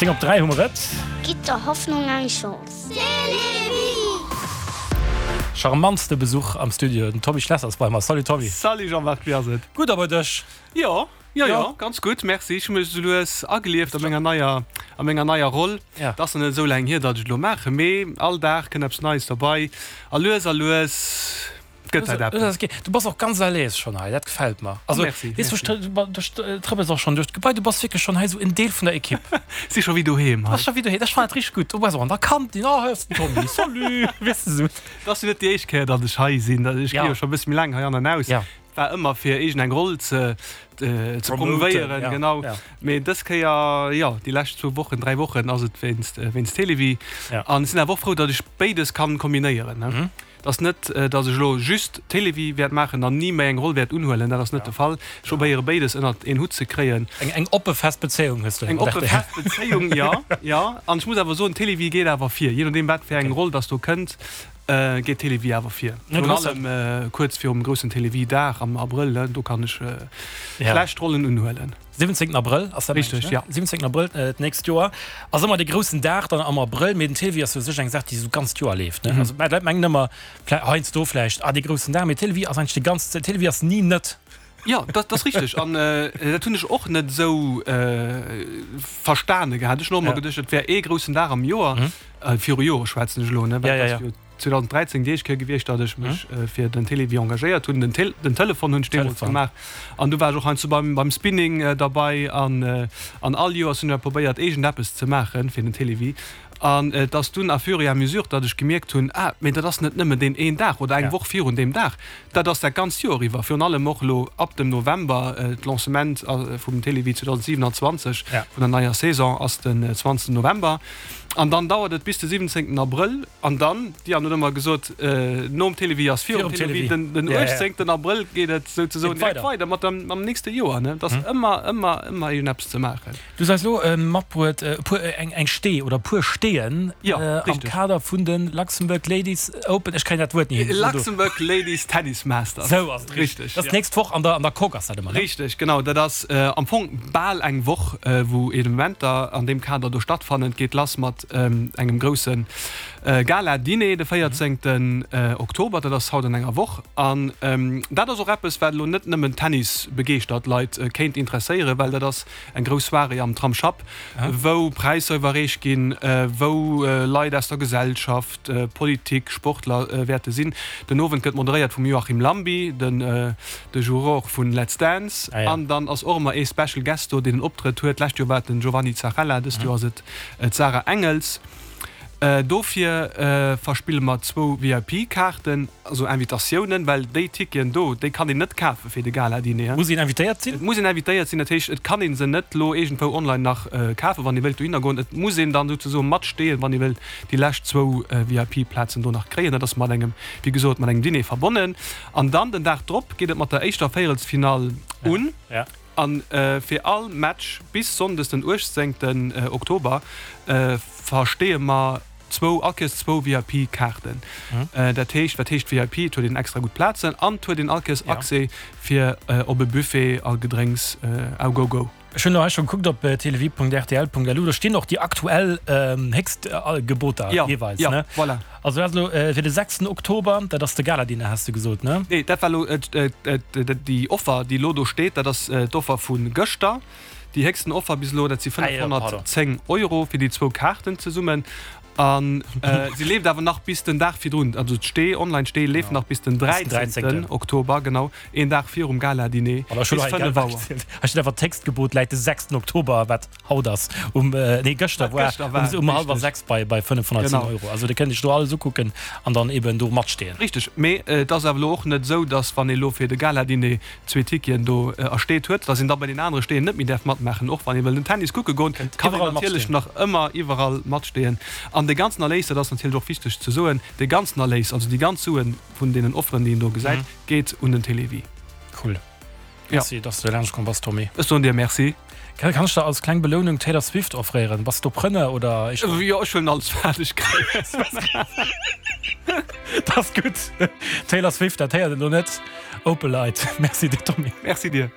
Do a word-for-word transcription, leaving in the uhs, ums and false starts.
Zéng op dräi hu mer et. Gitt der Hoffnung eng Chance. Télévie! Charmantste Besuch am Studio, den Tommy Schlesser ass bei mer. Salut Tommy. Salut Jean-Marc, wéi ass et? Gutt a bei dech? Jo, jo, jo, ganz gutt, merci. Ech hu mech esou lues agelieft a menger neier, a menger neier Roll. Et ass nach net esou laang hier, datt ech et elo maachen, mee all Dag kënnt eppes Neies derbei a lues a lues gëtt dat eppes. Du bass och ganz à l'aise schonn hei, dat gefält mer. Also, Merci, weess du, merci. du trëppels och schonn duerch d'Gebai, du bass wierklech schonn hei esou en Deel vun der Ekipp. Si scho wéi doheem Du hei. bass scho wéi doheem, ech fannen dat richteg gutt. Du bass och an der Kantin, oh, hei ass den Tommy, salut, weess de esou. Et ass jo net déi éischt Kéier, datt ech hei sinn. Ech gi Ja. jo scho e bësse méi laang hei an an aus. Ja. War ëmmer fir iergend eng Roll ze ze promovéieren, ja, genau. Ja. Mee dës Kéier, jo, déi lescht zwou Wochen, dräi Wochen ass et wéinst wéinst Télévie. Ja. An ech sinn awer och frou, datt ech béides kann kombinéieren, ne. Mhm. Et ass net, datt ech elo just Télévie wäert maachen an ni méi eng Roll wäert unhuelen, dat ass net de Fall. Ech probéiere béides ënnert een Hutt ze kréien. Eng eng oppe fest Bezéiung hues du. Eng oppe fest Bezéiung, jo, jo. An ech muss awer soen, Télévie geet awer vir. Jee nodeem wat fir eng Roll datt do kënnt, geet Télévie awer vir. Virun allem kuerz virum groussen Télévie-Dag am Abrëll, do kann ech schlecht Rollen unhuelen. Siwwenzéngten Abrëll ass dat, Richteg, ja. Siwwenzéngten Abrëll d'nächst Joer ass ëmmer dee groussen Dag dann am Abrëll. Mee den Télévie ass jo u sech eng Saach, déi esou d'ganzt Joer leeft, ne? Also d'Leit mengen ëmmer heiansdo vläicht, ah dee groussen Dag, mee Télévie ass eigentlech déi ganz Zäit, Télévie ass ni net. Jo, dat ass richteg. An dat hunn ech och net esou verstane gehat. Ech hunn och ëmmer geduecht, et wär ee groussen Dag am Joer. Viru Jore schwätzen ech elo, ne? Well et ass jo zweedausendräizéng déi éischt Kéier gewiescht, datt ech mech fir den Télévie engagéiert hunn. Den Tel den Telefon hunn ech deemools gemaach. An du war ech och heiansdo beim beim Spinning derbei. An an all Joers hunn ech probéiert, iergendeppes ze maache fir den Télévie. An et ass dunn à fur et à mesure, datt ech gemierkt hunn, ah, mee dat ass net nëmmen deen een Dag oder eng Woch virun deem Dag, dat ass dat ganzt Joer iwwer. Virun allem och elo ab dem November, d'Lancement vum Télévie zweedausendsiewenanzwanzeg, vun der neier Saison, ass den zwanzegsten November. An dann dauert et bis de siwwenzéngten Abrëll. An dann, d'Diane huet ëmmer gesot, nom Télévie ass virum Télévie, den uechtzéngten Abrëll geet et souzesoen direkt weider mat dem, mam nächste Joer. Et ass ëmmer, ëmmer, ëmmer iergendeppes ze maachen. Du hues eis elo matbruet e puer, eng, eng Stee oder e puer Steeën am Kader vun de Luxembourg Ladies Open, ech kréien dat Wuert ni hin. Luxembourg Ladies Tennis Masters. Sou ass et richteg. Dat ass d'nächst Woch an der, an der Coque ass dat ëmmer, ne? Richteg, genau. Dat ass am Fong bal eng Woch, wou Evenementer an deem Kader do stattfannen. Et geet lass mat engem grousse Gala-Diner de véierzéngten Oktober, dat ass haut an enger Woch. An dat ass och eppes, wat elo net nëmmen Tennis-begeeschtert Leit kéint interesséieren, well dat ass eng grouss Soirée am Tramsschapp, wou Präisser iwwerreecht ginn, wou Leit aus der Gesellschaft, Politik, Sportler wäerte sinn. Den Owend gëtt moderéiert vum Joachim Lambi, de Juror vun Let's Dance. An dann ass och ëmmer ee Special Guest do, deen en Optrëtt huet. D'lescht Joer war et den Giovanni Zarrella, dëst Joer ass et D'Sarah Engels. Dofir verspille mer zwou V I P-Kaarten, also Invitatiounen, well déi Ticketen do, déi kann een net kafe fir de Gala-Diner. Muss een invitéiert sinn? Et muss een invitéiert sinn, dat heescht, et kann ee se net elo iergendwou online nach kafen, wann ee wëllt dohinner goen. Et muss een dann souzesoe matsteeën, wann ee wëllt déi lescht zwou V I P-Plazen do nach kréien. Dat ass mat engem, wéi gesot, mat engem Diner verbonnen. An dann den Dag drop geet et mat der éischter Véierelsfinall un. An fir all Match bis Sonndes den uechtzéngten Oktober versteeë mer zwou, all Kéiers zwou V I P-Kaarten. Dat heescht, wat heescht V I P? Et huet een extra gutt Plazen an et huet een all Kéiers Accès fir op e Buffet a Gedrénks au go-go. Ech hunn elo hei scho gekuckt op télévie Punkt R T L Punkt L U, do stinn och déi aktuell Héchstgeboter jeeweils, ne? Jo, voilà. Also dat ass elo fir de sechsten Oktober, dat ass de Galadinner, has de gesot, ne? Nee, dat war elo déi Offer, déi elo do steet, dat ass d'Offer vu gëschter. Déi héchsten Offer bis elo, dat si fënnefhonnertzéng Euro fir déi zwou Kaarten zesummen. A se leeft awer nach bis den Dag virdrun, also d'Stee, Online-Stee leeft nach bis den dräizéngten Oktober, genau een Dag virum Gala-Diner bis fënnef Auer. Hei steet awer, D'Héchstgebot läit de sechsten Oktober, wat haut ass, um, nee gëschter war, um hallwer sechs bei bei fënnefhonnertzéng Euro. Also dir kënnt iech do alles ukucken an dann eben do matsteeën. Richteg, mee et ass awer elo och net esou, datt wann ee elo fir de Gala-Diner zwee Ticketen do ersteet huet, datt een da bei den anere Steeën net méi däerf matmaachen. Och wann ee wëll den Tennis kucke goen, kann een natierlech nach ëmmer iwwerall matsteeën. An dee ganzen Erléis, dat ass natierlech och wichteg ze soen, dee ganzen Erléis, also déi ganz Sue vun deenen Offeren, déi een do gesäit, geet un den Télévie. Cool. Merci, dass du laanscht komm bass, Tommy. Ech soen dir Merci. Kann ech der als kleng Belounung Taylor Swift offréieren? Bass du Preneur oder éischter? Jo, ech huelen alles wat ech kréien. Dat ass gutt. Taylor Swift, dat héiert een elo net. Opelite. Merci dir, Tommy. Merci dir.